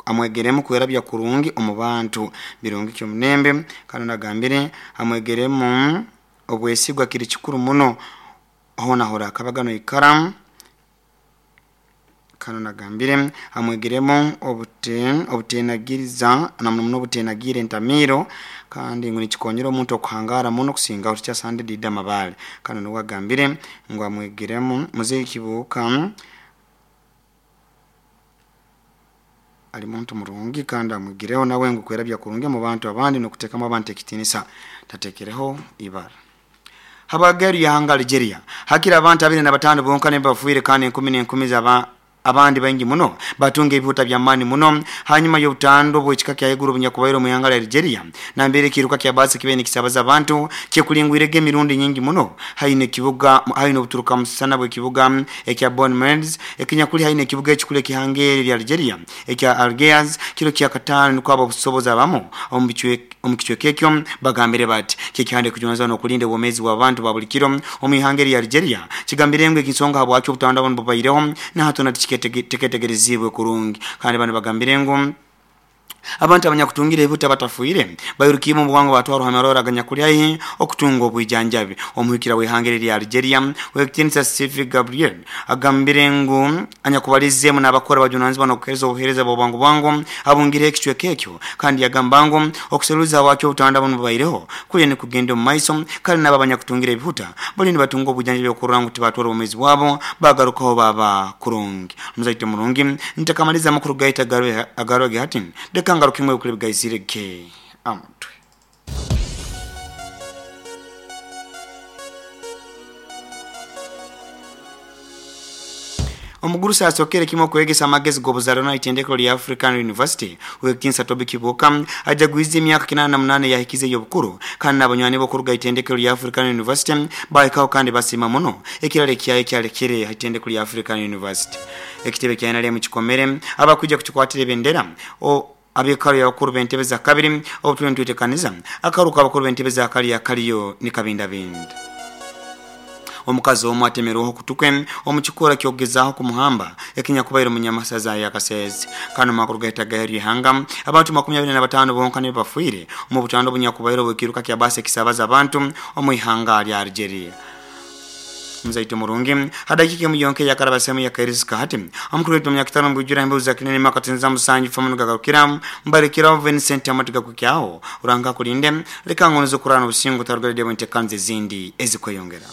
Amwegeremu kwerabya kurungi omu bantu birungi kyomunembe. Kandi nagambire amwegeremu obwesigwa kiri kikuru muno hoona horakabaga noikara. Kandi nagambire amwegeremu obutenagiriza na muno muno obutenagira entamiiro, kandi ngu nikikonyera omuntu okuhangara muno kusingaho tikyasande Dida Mabale. Kandi nuwe agambire ngu amwegeremu Muzei Kibuuka ali muntu murungi, kandi amwigireho nawe ngu kwerabya kurungi omu bantu abandi n'okuteekamu abantu ekitinisa tatekereho ibara. Habwageru yahanga Algeria hakiri abantu 25 bonka nibo bafiire, kandi enkumi n'enkumi zaba abandi baingi muno batunga ebihuta by'amaani muno hanyuma y'obutando bw'ekika kya haiguru obunyakubaire omu ihanga lya Algeria, nambere ekiiruka kya baasi kibaire nikisabaza abantu kyekulingwirege emirundi nyingi muno haihi n'ekibuga haihi n'obuturuka musana bw'ekibuga ekya Bonne-Mers ekinyakuli haihi n'ekibuga ekikuru ekihanga eri lya Algeria ekya Algiers kiro kya kataano. Nukwo ababusobozi abamu omu kicweka ekyo bagambire bati kyekihanda ekijunanizibwa n'okulinda obwomeezi bw'abantu ba buli kiro omu ihanga erya Algeria kigambire ngu ensonga habwaki obutanda bunu bubaireho nahatona tiketegereziibwe kurungi. Kandi banu bagambire ngu abantu abanyakutungire ebihuta batafiire bairukiibwe omu bwangu batwarwa ha marwaro aganyakuli haihi okutunga obwijanjabi. Omuhikira w'ihanga eri erya Algeria Owekitiinisa Steve Gabriel agambire ngu anyakubalizeemu n'abakora bajunanizibwa n'okuheereza obuheereza bw'obwangu bwangu abungireho ekicweka ekyo, kandi yagamba ngu okuseruliza habwaki obutanda bunu bubaireho kuliyo nikugenda omu maiso, kandi n'abo abanyakutungire ebihuta baliyo nibatunga obwijanjabi okurora ngu tibatwara obwomeezi bwabo bagarukaho baba kurungi. Omuzaito murungi, ntakamaliza amakuru gaitu agarwege hati, leka ngarukemu ebikuru ebigaizirege amutwe. Omugurusi asokere kimu okwegesa amagezi g'obuzarano itendekero lya African University Owekitiinisa Toby Kibuuka ajagwize emyaka 88 eyahikize ey'obukuru, kandi n'abanywani be okuruga itendekero lya African University bahikaho kandi basiima muno ekiraro ekyayo ekyalekere ha itendekero lya African University. Ekitebe kya NRM kikomere abakwija kukikwatira ebendera ab'ekaro y'abakuru b'entebe za kabiri obu tuli nitwetekaniza akaruka abakuru b'entebe za kali akaliyo nikabindabinda. Omukazi omu atemerweho okutu kwe omu kikora ky'okugezaaho kumuhamba ekinyakubaire omu Nyamasaza ya Kasese. Kandi omu makuru gahita gaheru y'ihanga, abantu 25 bonka nibo bafiire omu butanda obunyakubaire obw'ekiiruka kya baasi ekisabaza abantu omu ihanga lya Algeria. Muzaito murungi, ha dakiika emu yonka eyakarabasemu yakairizi hati, omukuru waitu omunyakitara omu bwijwire embeho za kinene makatinza musanju famu nigagarukira mbarekeraho Vincent amatu gakukyaho. Ruhanga akulinde, leka ngonoze okurara n'obusingo otarugaredde bwentekanza ezindi ezikweyongera.